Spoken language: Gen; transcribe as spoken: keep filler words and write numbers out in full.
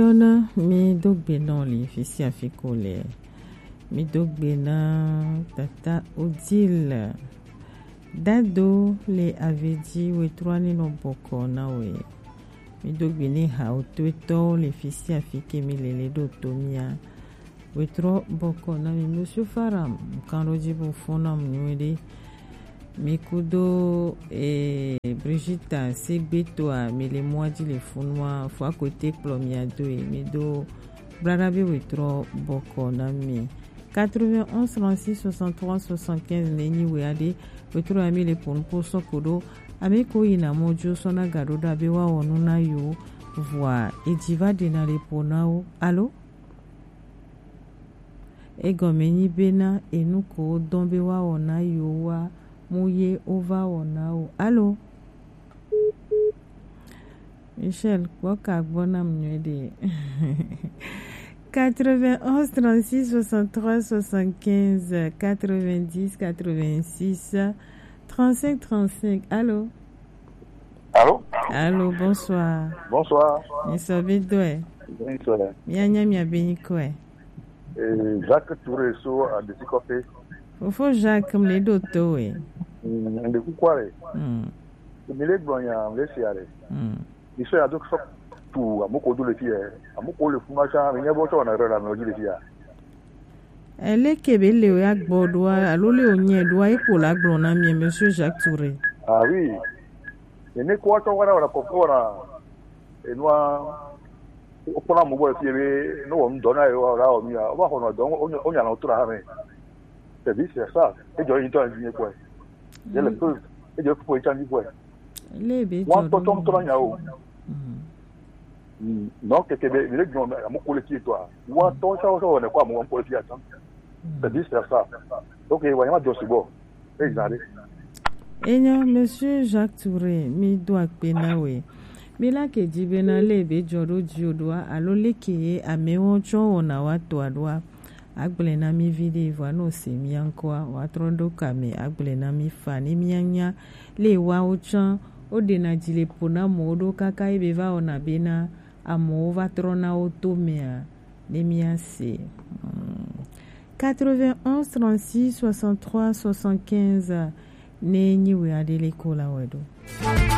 Yɔna, mi do gbe nɔ le fi sia fi ko le. Mi do gbe na tata Odile. Dado le Avedzi wetrɔ ni nɔ bɔkɔ na we. Mi do gbe ne ha o to etɔ le fi sia fi ke mi le le do to mia. Wetrɔ bɔkɔ na mi, Monsieur Faram, nkan ɖo dzi bo fo na mu nyuie ɖe. Mi kudo, eh, Brigitta Segbeto a, mi le mɔa dzi le funua, fo akote kplɔ mi ado e, mi do blada be wetrɔ bɔkɔ na mi. Quatre-vingt-onze trente-six soixante-trois soixante-quinze ne nyi we aɖe, wetrɔ ya mi le ponu po sɔ ko ɖo, ame ko yi na mɔ jo sɔ na ga ɖo ɖa be wa wɔ nu na yo, vɔa, edzi va ɖe na le po na wo. Alo? Egɔme nyi bena enu ko wodɔn be woawɔ na yewo wa, mu ye wova wɔ na wo. Alo? Michel, kpɔ ka gbɔ nam nyuie ɖe. Quatre-vingt-onze trente-six soixante-trois soixante-quinze, quatre-vingt-dix quatre-vingt-six trente-cinq trente-cinq. Alo? Alo? Alo, bonsoir. Bonsoir. Misɔ be dɔe. Bonsoir. Mianya mia be nyikɔe. Eh, Jacques Touré so Adesikɔƒe. Fofo Jacques, mle ɖo to we. Mm, nde kukua le. Mm. Mi le gblɔ nya, mle sia le. Mm. Mi sɔ ya do sɔ tu amoko do le fia. Amoko le fuma sa, mi nya bo tsɔ na re la mi di le fia. Eleke be le ya gbɔ ɖoa, alo le o nyɛ ɖoa, e ko la gblɔ na mi, Monsieur Jacques Touré. Ah oui. Ene ko tsɔ wa na wa ko wa na enua, wokpɔna mɔ gbɔ le fie be ne wɔ ŋdɔ na yewo la wɔ nu ya, wova xɔnɔ dɔ, wonya, wonya nɔ to ɖe hame. C'est vice versa. Edzɔ yi ŋutɔ dzi nye kpɔe. Ye le preuve. Edzɔ fufo yi tsa dzi kpɔe. Le be wa dzɔ tɔtɔ ɖo ŋutɔ na nyawo. Mm. Mm. Non, keke be mi le gbɔn ame ko le fie tɔa. Wa tɔ sa sa wɔ ne ko ame ko le fie atan. C'est vice versa. Ok, wa ya ma jɔ sugbɔ. Exactly. Enyo, Monsieur Jacques Touré, mi do akpe na we. Mi la ke dzi bena le be dzɔ ɖo dzi o ɖoa, alo leke ye amewo tsɔ wɔna wa toa ɖoa. Agblẽ na mi viɖe vɔa, ne wose mia ŋkɔa, woatrɔ ɖo ka me agblẽ na mi fa ne mianya. Le woawo tsã, woɖena dzi le ƒo na amewo ɖo kaka ye be va wɔna bena amewo va trɔna wo to mea, ne míase. Hmm. Quatre-vingt-onze trente-six soixante-trois soixante-quinze ne nyi wɛ aɖe le ko la wɛ ɖo.